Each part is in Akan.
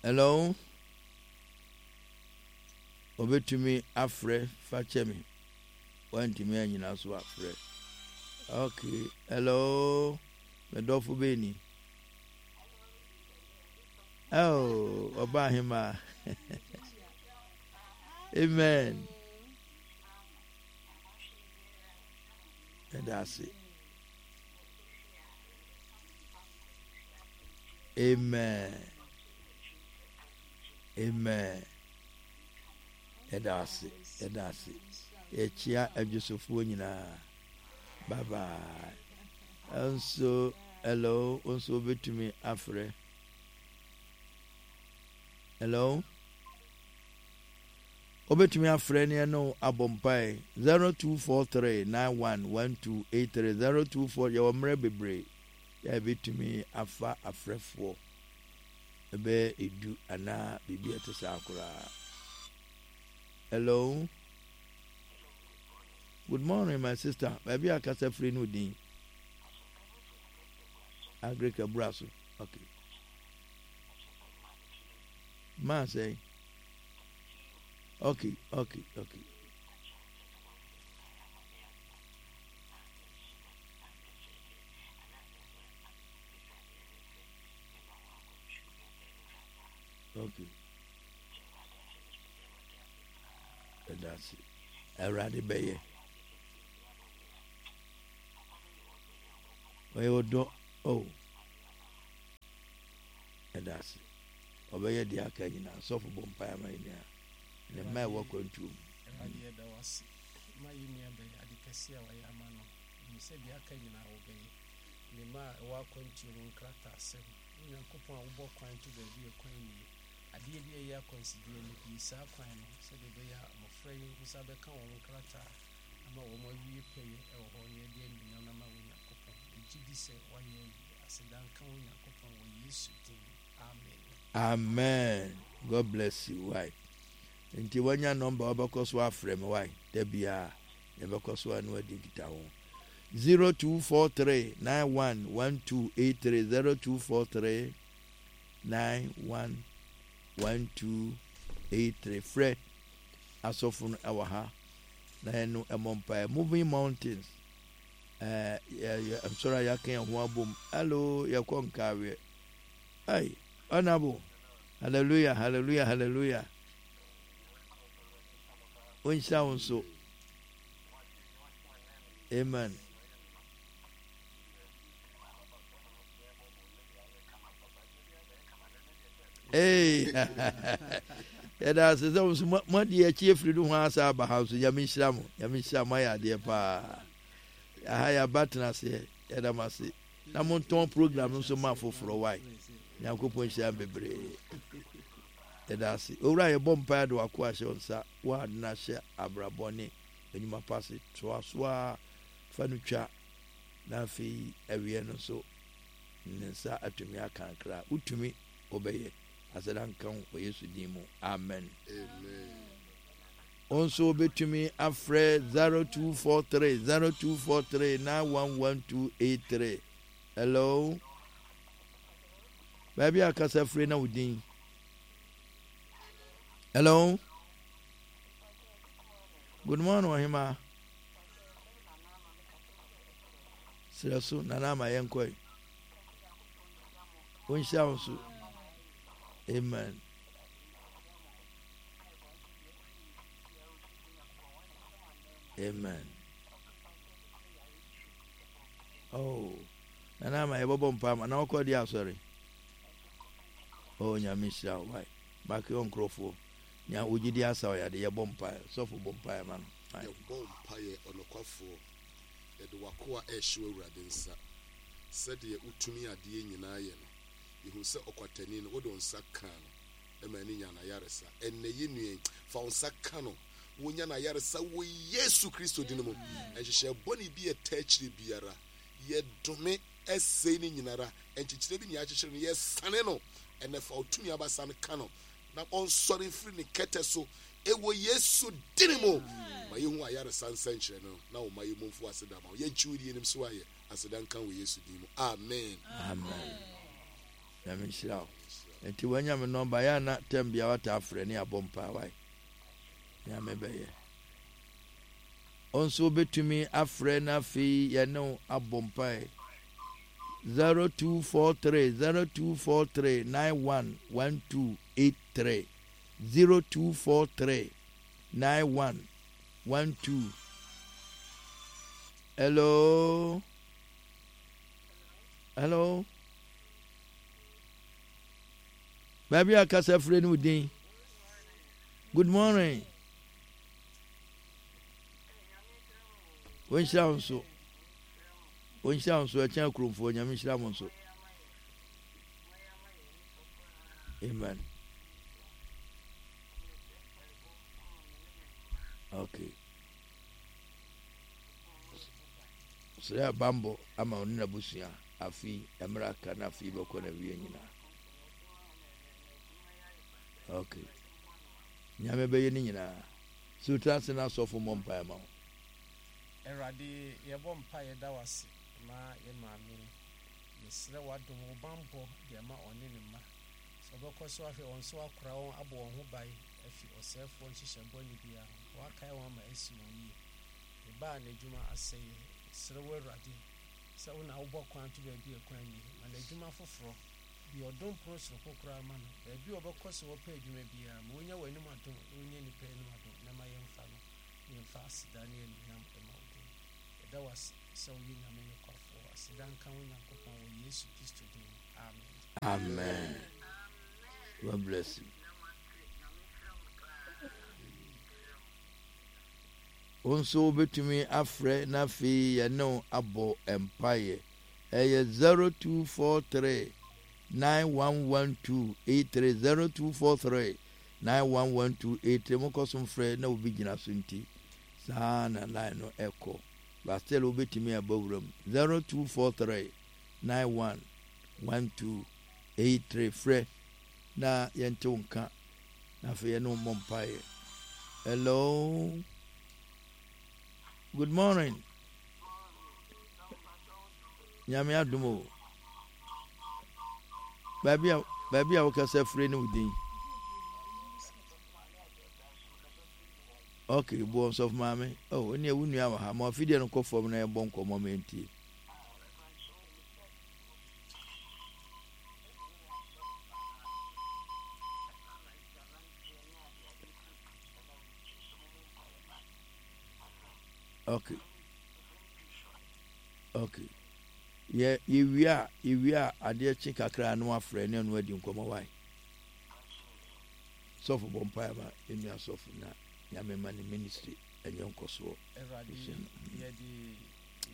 Hello? Obetumi afrɛ fa kyɛ me. Wantumi anyina so afrɛ. Okay. Hello? Me dɔfo bɛn ni? Oh, ɔba ahema. Amen. Ɛda ase. Amen. Amen. Yɛda ase. Yɛda ase. Yɛkyia adwosofoɔ nyinaa. Bye bye. Nso hello nso wobɛtumi afrɛ. Hello. Wobɛtumi afrɛ ne ɛne wo abɔ mpae 0243 911283 024 yɛwɔ mmerɛ bebree yɛ a yɛbɛtumi afa afrɛfoɔ ɛbɛyɛ edu anaa biribi a ɛte saa koraa. Hello. Good morning my sister. Baabi a kasa firi no din. Agric abura so. Okay. Maa sɛn. Okay, okay, okay. Okay. Ɛda ase. Awurade bɛyɛ. Ɔyɛ ɔdɔ. Oh. Ɛda ase. Ɔbɛyɛ deɛ aka nyinaa. Sɔfo bɔ mpaeɛ ama yɛn nua ne mma ɛwɔ akwantuo mu. Awurade yɛda wo ase ma yɛn nua bɛyɛ ade kɛse a wayɛ ama no. Nim sɛ deɛ aka nyinaa wobɛyɛ. Ne mma a ɛwɔ akwantuo mu nkrataasɛm. Wo Nyankopɔn a wobɔ kwan to baabi a kwan nnie. Adeɛ bi a ɛyɛ akwansideɛ no, bue saa kwan no sɛdeɛ ɛbɛyɛ a mmɔfra yi nsa bɛka wɔn nkrataa ama wɔn awie pɛyɛ wɔ hɔ na yɛde anuonyam no ama wo Nyankopɔn. Yɛgye di sɛ woayɛ awie. Aseda nka wo Nyankopɔn wɔ Yesu din mu. Amen. Amen God bless you wai nti wanya number wobɛkɔ so afrɛ me wai da biara yɛbɛkɔ so a ne wadi nkitaho 0243 911283 0243 911283 frɛ asɔfo no ɛwɔ ha na ɛno ɛmɔ mpaeɛ moving mountains ɛɛ yɛ nsɔre a yɛaka yɛn ho abom hello yɛkɔ nkaaweɛ Hey, honorable. Hallelujah, hallelujah, hallelujah. Wonhyira wo nso. Amen. Hey, yɛda ase sɛ wo nso moadi akyi afiri no ho asa aba ha nso nyame nhyira mo nyame nhyira mo ayɛ adeɛ paa aha yɛaba tena aseɛ yɛda mo ase Na montɔn program no nso ma afoforɔ wai Nyankopɔn nhyira mo bebree Yɛda ase Owura yɛbɔ mpaeɛ de w'akoa ahyɛ wo nsa wo a na hyɛ abrabɔ ne nnwuma pa ase toa so ara fa no twa na afei awieɛ no nso ne nsa atumi aka akra wotumi wobɛyɛ aseda nka wo wɔ Yesu din mu amen. Amen. Wo nso wobɛtumi afrɛ 0243 0243 911283. Hello? Baabi a kasa firi na wo din. Hello? Good morning, Ɔhema. Serɛ so, Nana ama yɛnkɔe. Wonhyia wo so. Amen. Amen. Oh, nana ama yɛbɔbɔ mpa ma na wɔkɔ di asɔre. Oh, nyame hyira wo wae. Baake wɔ nkurɔfoɔ. Nya wogye di asa ɔyade yɛbɔ mpa sɔfo bɔ mpa ma no. Yɛbɔ mpa yɛ ɔnokwafoɔ. Yɛde wakoa ɛhyɛ Awurade nsa. Sɛdeɛ wotumi adeɛ nyinaa yɛ no. Yɛhu sɛ ɔkwatani no wode wo nsa kaa no. ma ani nya n'ayaresa. Ɛnnɛ, yɛn nua yi, fa wo nsa ka no, wonya n'ayaresa wɔ Yesu Kristo din mu. Nhyehyɛɛ bɔne bi a ɛtaa akyire biara, yɛdome ɛsɛe ne nyinara. Nkyekyerɛ bi nea akyekyere no, yɛsane no. Ɛnnɛ, fa wo tumi abasa no ka no, na ɔnsɔre mfiri ne kɛtɛ so ɛwɔ Yesu din mu. Ma yɛhu ayaresa nsɛnkyerɛ no, na wo ma yɛ mu mfo aseda ma wo. Yɛgye wo di, yɛnim so ayɛ. Aseda nka wɔ Yesu din mu. Amen. Amen. Nyame nhyira wo. Nti wanya me nɔmba yɛ ana tɛm bia wata afrɛ ne abɔ mpaa wae. Nyame bɛyɛ. Wo nso wobɛtumi afrɛ na afei yɛne wo abɔ mpae. 0243 0243 911283 0243 9112 Hello? Hello? Baabi a kasa firi ne wo din. Good morning. Wɔnhyira wo nso. Wɔnhyira wo nso. Ɛkyɛn akuromfoɔ. Nyame nhyira mo nso. Amen. Okay. Srɛ bambɔ ama ɔne n'abusua afi mmerɛ aka na afi bɛkɔ na wie nyinaa. Okay. Nyame bɛyɛ ne nyinaa. Sɛ wotra ase na asɔfo mmɔ mpaeɛ ma wo. Awurade yɛbɔ mpaeɛ da wo ase ma yɛn maame yi. Yɛsrɛ w'adom, wo banbɔ de ama ɔne ne mma. Sɛ wobɛkɔ so ahwɛ wɔn so akora wɔn abɔ wɔn ho ban afi ɔsɛefoɔ nhyehyɛe bɔne biara ho, na woakae wɔn ama asi wɔn yie. Ne ba a n'adwuma asɛeɛ, yɛsrɛ wo Awurade sɛ wo na wobɔ kwan to baabi a kwan nni. Ma no adwuma foforɔ. Bue ɔdom pono soronko koraa ma no. Baabi a ɔbɛkɔ sɛ ɔrepɛ adwuma biara, ma ɔnya w'anim adom na ɔnya nnipa anim adom, na ma yɛmfa no na yɛmfa aseda ne anuonyam mma wo din. Yɛda wo ase sɛ woyɛ Nyame nokwafoɔ. Aseda nka wo Nyankopɔn wɔ Yesu Kristo din mu. Amen. Amen. God bless you. Wo nso wobɛtumi afrɛ na afei yɛne wo abɔ mpaeɛ. Ɛyɛ 0243 9112 83 0243 9112 83 mokɔ so mfrɛ na obi gyina so nti saa na line no ɛkɔ but still wobɛtumi aba wura mu 0243 9112 83 frɛ na yɛnte wo nka na afei yɛne wo mmɔ mpaeɛ. Hello, good morning. Nyame adom o. Baabi a baabi a wokasa firi ne wo din. Ok, boɔ nsɔfo maame. Oh, ɛne wo nua wɔ ha. Ma afidie no kɔ fam na yɛbɔ nkɔmmɔ ma ɛntie. Ok. Ok. Yɛ yɛwie a yɛwie a adeɛ kye kakra na wafrɛ ne ɛno adi nkɔmmɔ wae. Sɔfo bɔ mpaeɛ ma yɛnua sɔfo na Nyame ma ne ministry ɛnyɛ nkɔsoɔ. Awurade yɛde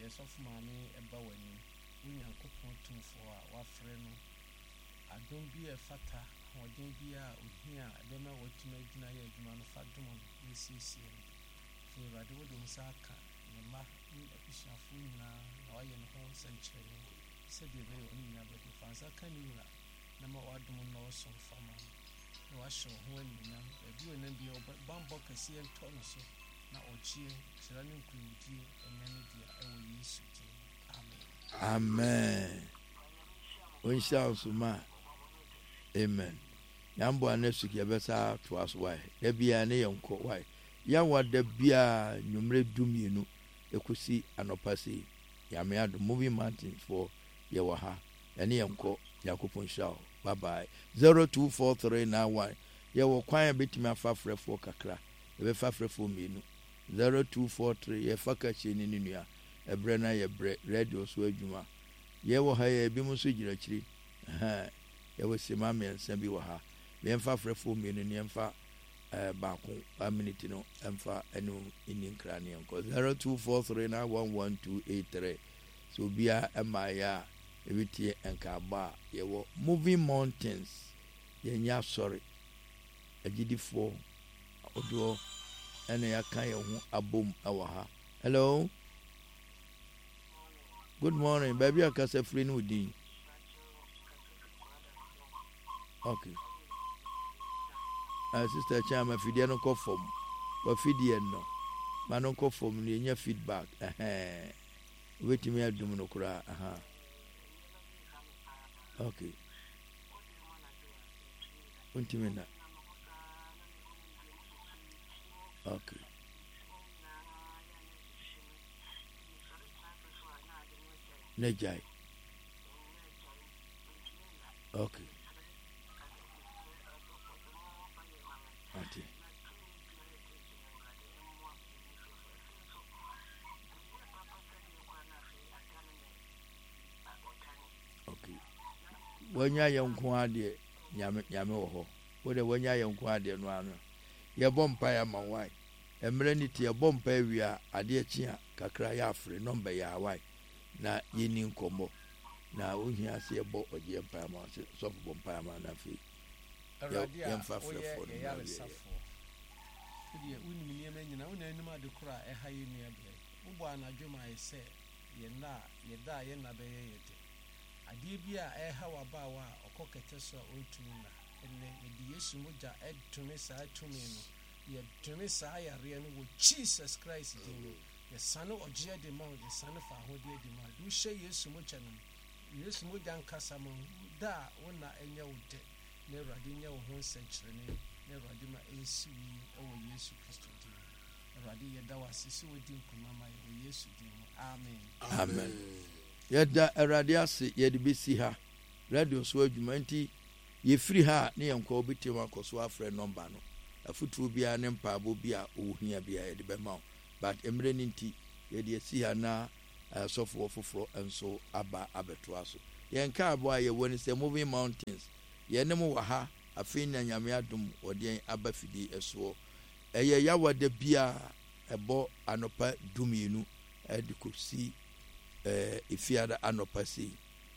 yɛ sɔfo maame ɛba w'anim, wo Nyankopɔn tumfoɔ a wafrɛ no, adom bi a ɛfata, ahoɔden bi a ohia a ɛbɛma watumi agyina ayɛ adwuma no fa dom no na siesie no. Afei Awurade wode wo nsa aka ne mma ne n'abusuafoɔ nyinaa na woayɛ ne ho nsɛnkyerɛnne sɛdeɛ ɛbɛyɛ ɔne nyinaa bɛdwo. Fa nsa ka ne wura na ma w'adom nnɔɔso mfa ma no na wahyɛ wo ho animuonyam. Baabi a ɔnam biara wo bammɔ kɛseɛ ntɔ no so na ɔgyeɛ, nhyira ne nkonimdie nyɛ ne dea ɛwɔ Yesu din mu. Amen. Amen. Ɔnhyira wo nso ma. Amen. Nyame boa next week yɛbɛsa toa so wae. Da biara ne yɛnkɔ wae. Yawa da biara nwummere 12 ɛkɔsi anɔpa sei. Nyame adom Moving Mountains foɔ yɛwɔ ha. Yɛne yɛnkɔ. Nyankopɔn nhyira wo. Bye bye. 024391 yɛwɔ kwan a bɛtumi afa frɛfoɔ kakra. Yɛbɛfa frɛfoɔ mmienu. 0243 yɛfa kakyire ne ne nua. Ɛberɛ no ayɛ berɛ. Radio nso adwuma. Yɛwɔ ha yɛ ebinom nso gyina akyiri. Ɛhɛn. Yɛwɔ sima mmiɛnsa bi wɔ ha. Yɛmfa frɛfoɔ mmienu ne yɛmfa eh, baako one minute no ɛmfa ɛne nni nkra ne yɛnkɔ. 0243911283 sɛ obiara ɛmaeɛ a ɛbɛtie nkaabɔ a yɛwɔ Moving Mountains yɛnyɛ asɔre agyidifoɔ ahodoɔ ɛna yɛaka yɛn ho abom ɛwɔ ha. Hello, good morning. Baabi a kasa firi ne wo din. Okay. Sister Chan, ma fidie no nkɔ fam. Wafidie no, ma no nkɔ fam no yɛnya feedback. Ɛhɛn. Wobɛtumi adum no koraa. Aha. Okay. Wontumi nna. Okay. Na gyae. Okay. Ate. Okay. Wanya yɛn nko ara deɛ nyame nyame wɔ hɔ. Wo deɛ wanya yɛn nko ara deɛ no ano. Yɛbɔ mpaeɛ ama wo wae. Mmerɛ ne ti yɛbɔ mpaeɛ wie a adeɛ kye a kakra yɛafrɛ nɔmba yi a wae na yɛni nkɔmmɔ. Na wohia sɛ yɛbɔ ɔgyeɛ mpaeɛ ama wo sɛ sɔfo bɔ mpaeɛ ama no afei Awurade a yɛmfa woyɛ frɛfoɔ no yɛn mmra wieɛ. yaresafoɔ, wo deɛ wonim nneɛma nyinaa, wo na anim ade korɔ a ɛha yɛn nua bea yi. Wobɔɔ anadwo maa yɛ sɛ yɛn nna a yɛda a yɛn nna bɛyɛ yɛ dɛ. Adeɛ bi a ɛreha w'abaawa a ɔkɔ kɛtɛ so a ɔntumi nna, ɛnnɛ yɛde Yesu mogya dome saa tumi no, yɛdome saa yareɛ no wɔ Jesus Christ din mu. Yɛsane ɔgyeɛ de ma wo, yɛsane fawohodie de ma wo. De wo hyɛ Yesu mogya no mu. Yesu mogya nkasa ma wo, da a wo nna nyɛ wo dɛ, na Awurade nyɛ wo ho nsɛnkyerɛnne, na Awurade ma ɛnsi wo yie wɔ Yesu Kristo din mu. Awurade yɛda wo ase sɛ wadi nkonim ama yɛn wɔ Yesu din mu. Amen. Amen. Yɛda Awurade ase yɛde bɛsi ha radio so adwuma nti yɛfiri ha a ne yɛn nkɔ wobɛtumi akɔ so afrɛ nɔmba no afotuo biara ne mpaebɔ bi a wohia biara yɛde bɛma wo but mmerɛ no nti yɛde asi ha na asɔfoɔ foforɔ nso aba abɛtoa so. Yɛn nkaebɔ a yɛwɔ ne sɛ Moving Mountains yɛne mo wɔ ha afei na Nyame adom wɔde yɛn aba fidie soɔ. Ɛyɛ yawa da biara ɛbɔ anɔpa dumienu de kɔsi Efiada anɔpa sei.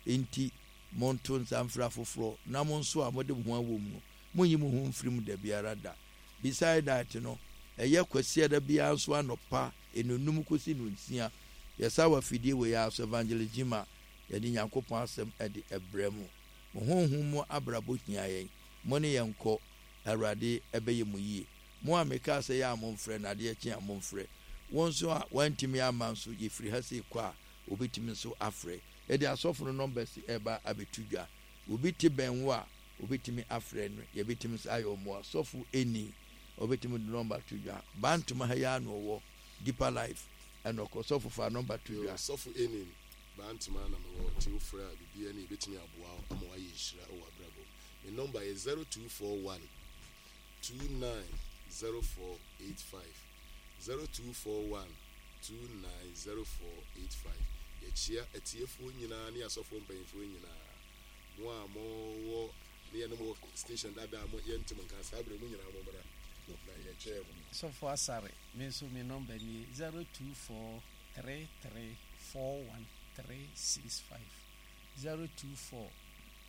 Enti monto nsa mfrɛ afoforɔ na mo nso a mode mo ho awɔ mu no, monnyi mo ho mfiri mu da biara da. Beside that no, ɛyɛ Kwasiada biara nso anɔpa nnɔnnum kɔsi nnɔnsia, yɛsa wɔ afidie wei ara so, Evangelist Gyimah, yɛde Nyankopɔn asɛm de brɛ mo. Mo honhom mu abrabɔ hia yɛn. Mo ne yɛn nkɔ. Awurade bɛyɛ mo yie. Mo a mekaa sɛ yɛ a momfrɛ na adeɛ kye a momfrɛ. Wo nso a woantumi amma nso yɛfiri ha sei kɔ a wobɛtumi nso afrɛ. Yɛde asɔfo no numbers reba abɛto dwa. Obi te bɛn wo a wobɛtumi afrɛ no, yɛbɛtumi nso ayɛ wo mmoa. Sɔfo Eni ɔbɛtumi de number ato dwa. Bantoma ha yi ara na ɔwɔ, Deeper Life ɛna ɔkɔ. Sɔfo fa number to Yo, dwa. Sɔfo Enin, Bantoma na mewɔ nti wofrɛ a biribiara ni yɛbɛtumi aboa wo ama woayɛ nhyira wɔ w'abrabɔ mu. Me nɔmba yɛ 0241 290485, 0241 290485. Yɛkyea atiefoɔ nyinaa ne asɔfoɔ mpanyinfoɔ nyinaa. Mo a mowɔ ne yɛne mo wɔ station dada a mo yɛnte mo nka saa berɛ mo nyinaa mo mmra na yɛkyɛɛ mo. Sɔfo Asare, me nso me nɔmba nie, 0243341365, 024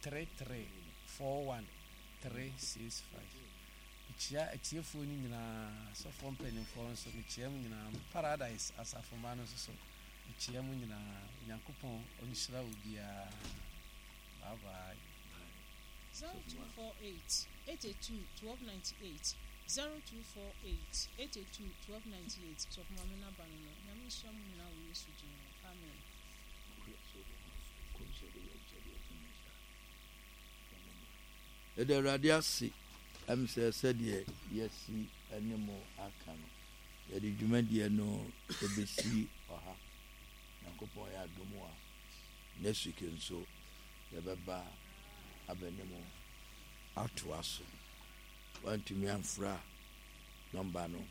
3341365. Mekyia atiefoɔ no nyinaa, asɔfoɔ mpanimfoɔ nso, mekyia mo nyinaa. Paradise asafomma no nso so, mekyia mo nyinaa. Onyankopɔn ɔnhyira obiara. Bye bye. 0248 82 1298 0248 82 1298 Sɔfo Maame n'aba no no Nyame nhyira mo nyinaa wɔ Yesu din mu Amen. Yɛda Awurade ase ɛm sɛ sɛdeɛ yɛasi ne mo aka no, yɛde dwumadie no ɛbɛsi ɔha. Nyankopɔn yɛ adom a, next week nso yɛbɛba abɛne mo atoa so. Wantumi amfra nɔmba no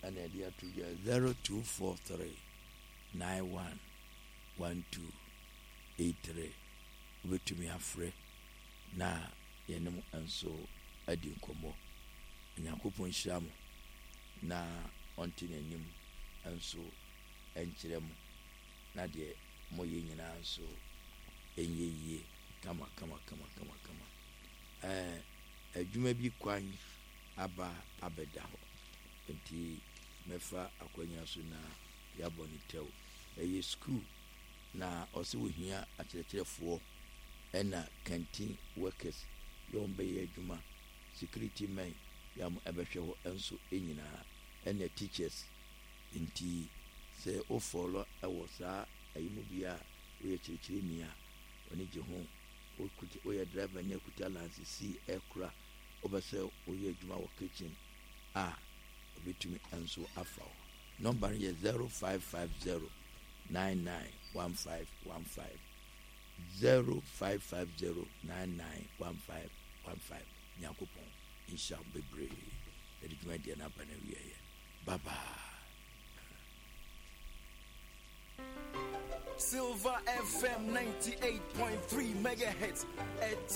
ɛna ɛde ato dwa 0243 91 1283 wobɛtumi afrɛ na yɛne mo nso adi nkɔmmɔ. Onyankopɔn nhyira mo na ɔnte n'anim nso nkyerɛ mo na deɛ moyɛ nyinaa nso ɛnyɛ yie kama kama kama kama kama. Ɛɛ adwuma bi kwan aba abɛda hɔ nti mɛfa akwanya so na yɛabɔ ne tɛw. Ɛyɛ sukuu na ɔsɛ ohia akyerɛkyerɛfoɔ ɛna canteen workers yɛ wɔn bɛyɛ adwuma, security men yɛ wɔn ɛbɛhwɛ hɔ nso nyinaa ɛna teachers. Nti sɛ wo follow ɛwɔ saa ayi mu bi a woyɛ kyerɛkyerɛni a w'ani gye ho. Wokuta woyɛ driver ni akuta lanse C ɛkora wopɛ sɛ woyɛ adwuma wɔ kitchen a obetumi nso afa wo. Nɔmba no yɛ 0550 991515 0550 991515 Nyankopɔn nhyira wo bebree. Yɛde dwumadie no aba no awieɛ. Bye bye. Silver FM 98.3 megahertz.